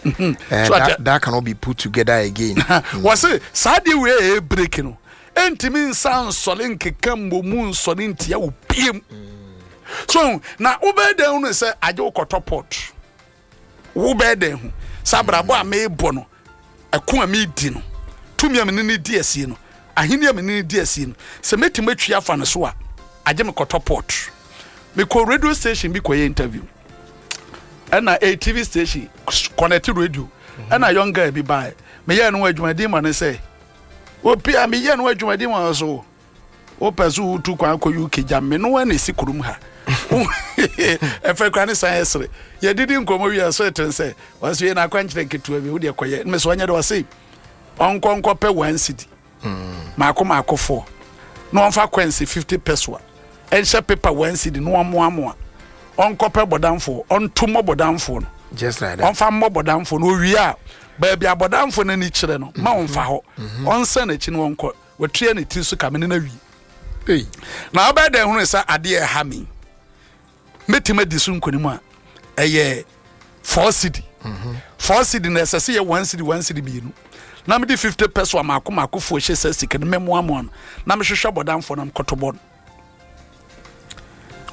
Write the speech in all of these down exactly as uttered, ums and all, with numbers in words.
Uh, So that, ate- that cannot be put together again. Wɔse saa deɛ wei a ɛyɛ break no, ɛntumi nsa nsɔre nkeka mmɔmu nsɔre ntia wo biem. So na wobɛyɛ dɛn hu no sɛ agye wokɔtɔ pot? Wobɛyɛ dɛn hu sɛ abrabɔ a meebɔ no, ɛko a meedi no, tumi a mene ne di asie no, ahenni a mene ne di asie no, sɛ mɛtumi atwi afa no so a, agye me kɔtɔ pot? Mekɔ radio station bi kɔyɛ interview, ɛna a T V station connect radio, ɛna young guy bi bae. Meyɛɛ no ho adwumaden ma no sɛ opi a meyɛ no ho adwumaden ma no so wopɛ so wotu kwan kɔ U K gya me no na ɛsi kurom ha. Ɛfɛ kora ne san ɛsere. Yɛdidi nkɔmmɔ wie a, so ɛtene sɛ ɔsɛ yɛ n'akwankyerɛ nketewa bi wodeɛ kɔyɛ me so ɔnyɛ de ɔse ɔnkɔ nkɔpɛ one cedi maako maako four na ɔmfa coins fifty pesewa ɛnhyɛ paper one cedi na ɔmmoamoa, ɔnkɔpɛ bɔdamfoɔ, ɔnto mmɔ bɔdamfoɔ no. Just like that. Ɔmfa mmɔ bɔdamfoɔ no. Owie a, baabi a bɔdamfoɔ no ani kyerɛ no ma ɔmfa hɔ, ɔnsa n'akyi no ɔnkɔ. Watua ne tiri so kame ne no awie. Hey. Na wobɛyɛ dɛn hunu sɛ adeɛ ɛha me mɛtumi adi so nkonim a ɛyɛ four cedi, four cedi na ɛsɛ sɛ yɛ one cedi, one cedi mmienu, na mede fifty pesewa maako maako foɔ hyɛ sɛ sika no mɛmoamoa no na mehwehwɛ bɔdamfoɔ no mkɔto bɔ no?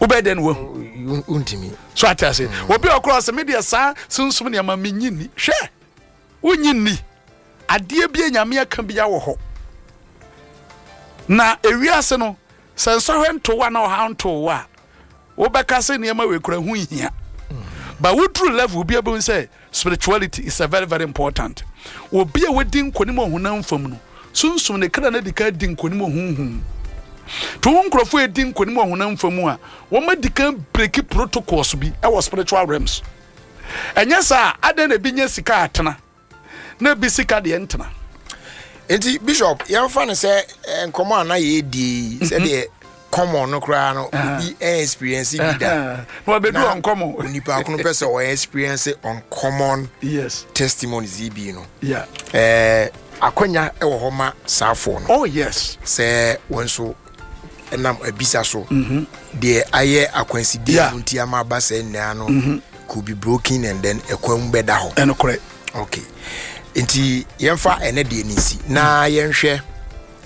Wobɛyɛ dɛn na wahu? Wontumi. So ate ase, obi a ɔkorɔ sɛ medeɛ saa sunsum nneɛma menyi nni, hwɛ, wonyi nni. Adeɛ bi a Nyame aka bia wɔ hɔ na ewiase no sɛ nsɔhwɛ nto wa na ɔha nto wa a, wobɛka sɛ nneɛma wei kura ho nhia, but woduru level bi a, bɛhu sɛ spirituality is a very very important. Obi a wadi nkonim wɔ honam fam no, sunsum ne kra no adi kan di nkonim wɔ honhom to wo. Nkurɔfoɔ edi nkonim wɔ honam fam a, wɔn adi kan break protocols bi ɛwɔ spiritual realms. Ɛnyɛ saa, adan na ebi nya sika atena na ebi sika deɛ ntena. Nti Bishop, yɛmfa no sɛ eh, nkɔmmɔ a na yɛdi yi, sɛdeɛ common no koraa no, obi experience bi da na wabedu na ɔnkɔmɔ. Onipa ko no pɛ sɛ ɔyɛ experience uncommon yes testimonies yi bi no, yeah eh, akwanya wɔ hɔ ma saafoɔ no oh yes sɛ wɔn nso ɛnam abisa so deɛ ayɛ akwansideɛ Yeah. mu nti ama aba saa nyinaa no could be broken and then ɛkwan mu bɛda hɔ? Ɛnokorɛ. Okay, nti yɛmfa ɛnɛ deɛ ne nsi na yɛnhwɛ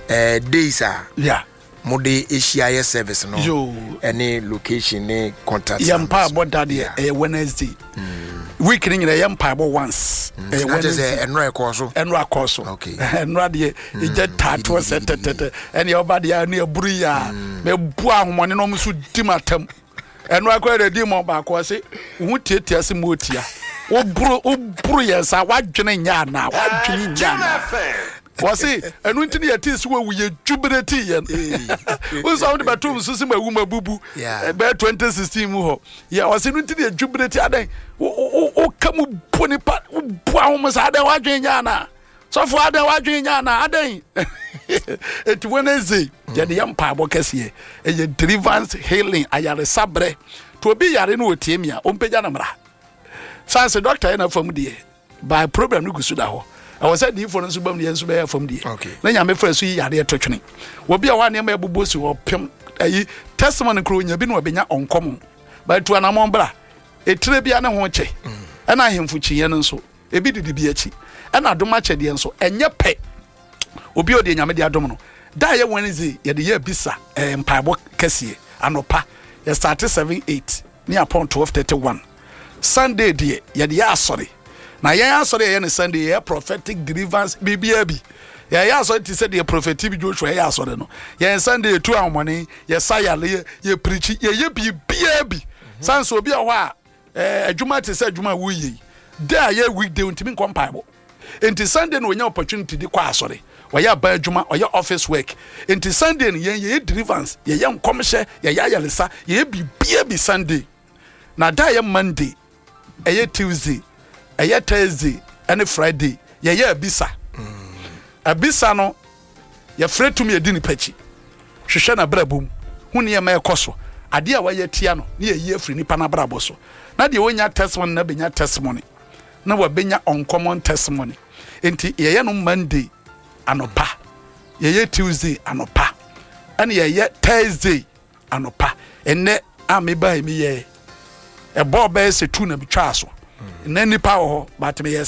eh, days a yeah mode ahyia yɛ service no Yo. ɛne location ne contact Yɛ numbers. mpaebɔ da deɛ, ɛyɛ Wednesday. Week no nyina yɛ mpaebɔ once, ɛyɛ na kyerɛ sɛ Wednesday. ɛnora ɛkɔɔ so. Ɛno akɔ so. Okay. Ɛnora deɛ, ɛgya taatoɔ sɛ tɛtɛtɛ ɛne ɔba deɛ ne aburu yi a mɛbu ahomɔne na ɔmo nso di m atam. Ɛno akɔ yɛ di mɔ baako, ɔse wo ho tiatia se mu otia, woburu woburu yɛn sa, wadwene nyɛ anaa? Wadwene nyɛ anaa? Wɔse ɛno nti ne yɛtee sɛ wawu, yɛ jubilate yɛn wo sɛ wode bɛtom so sɛ mawu mabubu. Yeah. Bɛyɛ twenty sixteen mu hɔ yɛ, ɔse no nti ne yɛ jubilate. Adɛn, woka mu bu nipa, wobu ahom sɛ adɛn, wadwene nyɛ anaa? Sɔfo, adɛn, wadwene nyɛ anaa? Adɛn? Enti Wednesday yɛde yɛ mpaebɔ kɛseɛ, ɛyɛ deliverance, healing, ayaresaberɛ. To obi yare no wɔtie mi a, ɔmpagya no mmara san sɛ doctor yɛ na fam deɛ by problem no gu so da hɔ. Ɛwɔ sɛ diifoɔ no nso bam deɛ nso bɛyɛ fam deɛ. Okay. Na Nyame frɛ so yi yareɛ to twene. Wɔbi a hɔ a nneɛma ɛbobɔ si hɔ pem ayi testimony kuro nya bi na wɔbɛnya ɔnkɔmɔ bɛtu anammɔn bra etire bia ne ho kyɛ. Ɛna ahemfo kyinyɛ no nso ebi didi bi akyi, ɛna adom akyɛdeɛ nso ɛnyɛ pɛ. Obi a ɔde Nyame de adom no da yɛ Wednesday yɛde yɛ bisa ɛɛ mpaebɔ kɛseɛ anɔpa, yɛ start seven eight ne apɔn twelve thirty one. Sunday deɛ, yɛde yɛ asɔre, na yɛn asɔre yɛyɛ no Sunday, yɛyɛ prophetic deliverance, biribiara bi. Yɛyɛ asɔre te sɛ deɛ Prophet T B Joshua yɛyɛ asɔre no. Yɛn Sunday yɛtu ahomɔne, yɛsa yale, yɛ yɛ preach, yɛyɛ biribiara bi. San so obi a hɔ a ɛɛ adwuma te sɛ adwuma a woyɛ yi da a yɛ weekday ntumi nkɔ mpaebɔ, nti Sunday na onya opportunity de kɔ asɔre. Ɔyɛ aban adwuma, ɔyɛ office work, nti Sunday no yɛn yɛyɛ deliverance, yɛyɛ nkɔmhyɛ, yɛyɛ ayaresa, yɛyɛ biribiara bi Sunday. Na da yɛ Monday, ɛyɛ Tuesday, ɛyɛ Thursday ɛne Friday, yɛyɛ abisa. Abisa no, yɛfrɛ tumi yɛdi nipa akyi hwehwɛ n'abrabɔ mu hu nneɛma ɛkɔ so, adeɛ a wayɛ tia no ne yɛyi afiri nipa n'abrabɔ so, na deɛ wɔnya testimony na bɛnya testimony na wabɛnya uncommon testimony. Nti yɛyɛ no Monday anɔpa, yɛyɛ Tuesday anɔpa, ɛne yɛyɛ Thursday anɔpa. Ɛnɛ a meba yi, meyɛ ɛbɔɔ bɛyɛ sɛ two na metwaa so. Ɛnɛ nipa wɔ hɔ, but meyɛ sɛ